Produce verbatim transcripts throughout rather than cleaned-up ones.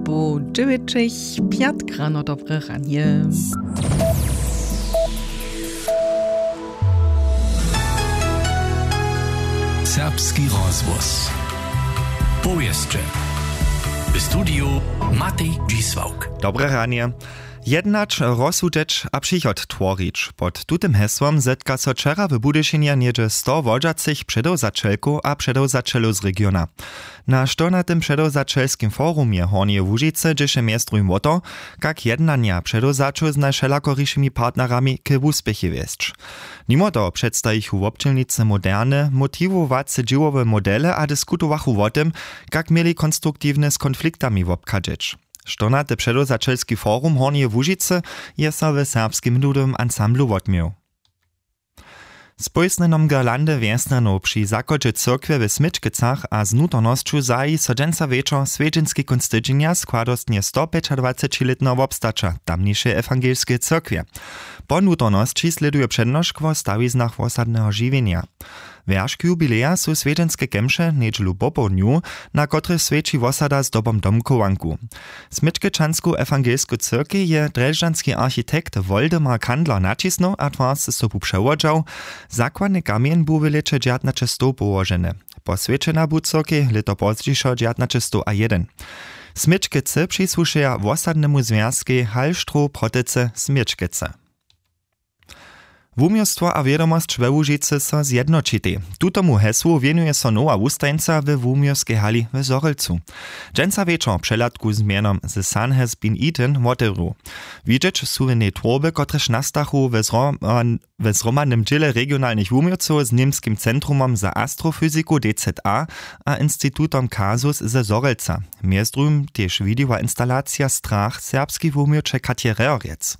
Poł dźewjećich, pjatk rano, dobre ranje. Serbski rozhłos. Powěsće. W studiju Matej Dźisławk. Dobre ranje. Jednać, rozsudźeć a přichod tworić. Pod tutym hesłom zetka so wčera w Budyšinje něhdźe sto wodźacych předewzaćelkow a předewzaćelow z regiona. Na štyrnatym předewzaćelskim forumje Hornjeje Łužicy dźěše mjez druhim wo to, kak jednanja předewzaćow z najwšelakorišimi partnerami k wuspěchej wjesć. Nimo toho předstajichu wobdźělnicy moderne, motiwowace dźěłowe modele a diskutowachu wo tym, kak měli konstruktiwnje z konfliktami wobchadźeć. Štyrnaty předewzaćelski forum Hornjeje Łužicy je so w Serbskim ludowym ansamblu wotměł. Z pójsnjenom girlandy wjesnjanow při zachodźe cyrkwje w Směčkecach a z nutornosću zaji so dźensa wječor swjedźenski kónc tydźenja składostnje stopjećadwacećilětneho wobstaća tamnišeje ewangelskeje cyrkwje. Po nutornosći slěduje přednošk wo stawiznach wosadneho žiwjenja. Wjeršk jubileja su swjedźenske kemše njedźelu popołdnju, na kotrychž swjeći wosada zdobom domchowanku. Směčkečansku ewangelsku cyrkej je drježdźanski architekt Woldemar Kandler naćisnył a twarce sobu přewodźał. Zakładny kamjeń bu w lěće dźewjatnaćestow połoženy. Poswjećena bu cyrkej lěto pozdźišo dźewjatnaćestow a jedyn. Směčkece přisłušeja wosadnemu zwjazkej Hallstroh Protycy Směčkece. Wuměłstwo a wědomosć we Łužicy so zjednoćitej. Tutomu hesłu wěnuje so nowa wustajeńca we wuměłskej hali w Zhorjelcu. Dźensa wječor přehladku z mjenom The Sun Has Been Eaten wotewru. Widźeć su w njej twórby, kotrež nastachu we zhroman-, we zhromadnym dźěle regionalnych wuměłcow z Němskim centrumom za astrofyziku D Z A a institutom Kasus ze Zhorjelca. Mjez druhim tež widiła instalacija Strach serbskej wuměłće Katje Rehrjec.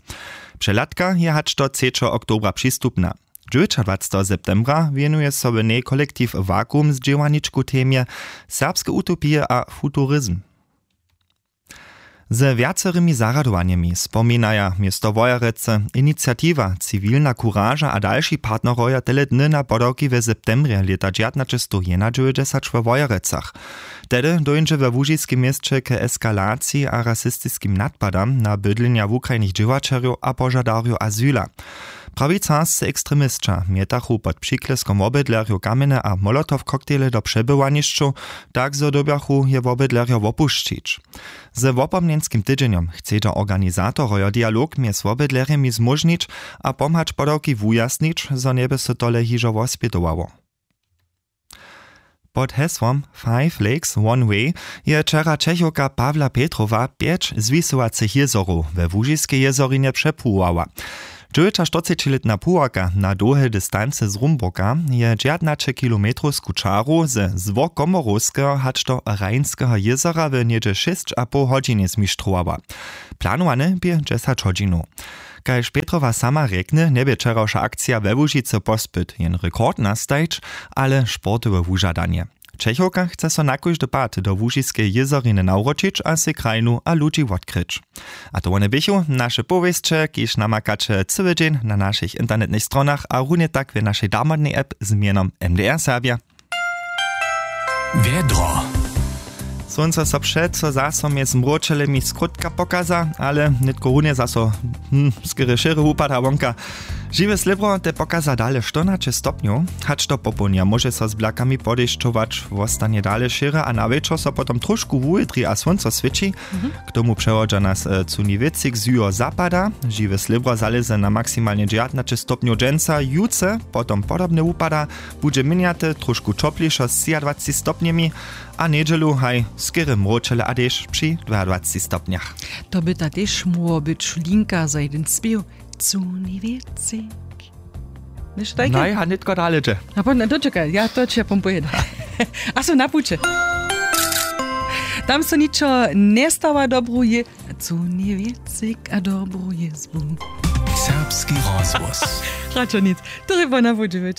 Přehladka je hač do třećeho oktobra přistupna. Dźewjećadwaceteho septembra wěnuje so w njej kolektiw Vakuum z dźěłarničku temje serbske utopije a futurizm. Ze wjacerymi zarjadowanjemi spominaja město Wojerecy Iniciatiwa Ciwilna kuraža a dalši partnerojo tele dny na podawki w septembrje lěta dźewjatnaćestowjednadźewjećdźesat we Wojerecach. Tehdy dóńdźe we łužiskim měsće k eskalaciji a rasistiskim nadpadam na bydlenja wukrajnych dźěłaćerjow a požadarjow azyla. Prawicarscy ekstremisća mjetachu pod přikleskom wobydlerjow kamjene a molotow-koktejle do přebywanišćow, tak zo dyrbjachu je wobydlerjo wopušćić. Ze wopomnjenskim tydźenjom chcedźa organizatorojo dialog mjez wobydlerjemi zmóžnić a pomhać podawki wujasnić, zo njeby so tole hižo wospjedowało. Pod hesłom Five Lakes One Way je wčera Čechowka Pawla Petrowa pjeć zwisowacych jězorow we Łužiskej jězorinje přepłuwała. Dźewjećaštyrcećilětna płuwarka na dołhe distancy z Rumburka je dźewjatnaćekilometrowsku čaru ze Złokomorowskeho hač do Rheinskeho jězora w něhdźe šěsć a poł hodźinje zmištrowała. Planowane bě dźesać hodźinow. Kaž Petrowa sama rjekny, njebě wčerawša akcija we Łužicy pospyt jen rekord nastajić, ale sportowe wužadanje. Čechowka chce so na kóždy pad do Łužiskeje jězoriny nawróćić a sej krajinu a ludźi wotkryć. A to wone běchu naše powěsće, kiž namakaće cyły dźeń na našich internetnych stronach a runje tak w našej damodnej app z mjenom M D R Serbja. Wjedro. Słónco so přeco zaso mjez mróčelemi skrótka pokaza, ale nětko runje zaso, hm, skerje šěry wupada wonka. Žiwe slěbro te pokaza dale štyrnaće stopnjow. Hač do popołdnja móže so z blakami podešćować, wostanje dale šěry a na wječor so potom trošku wuwětri a słónco swěći. K tomu přewodźa nas, e, cunji wětřik z juho zapada. Žiwe slěbro zalěze na maksimalnje dźewjatnaće stopnjow dźensa, jutře potom podobnje wupada. Budźe měnjate, trošku ćoplišo z třiadwaceći stopnjemi a njedźelu haj skerje mróčele a dešć při dwajadwaceći stopnjach. To by ta tež móhło być linka za jeden spěw. Cunji wětřik. Něšto tajke? Naj, a nětko dale dźe. A po, no, dočekaj, ja to će pompujedam. A so na puće. Tam so ničo njestawa, dobru je, cunji wětřik a dobru jězbu. Serbski rozhłos. Radšo nic. To je po na puće.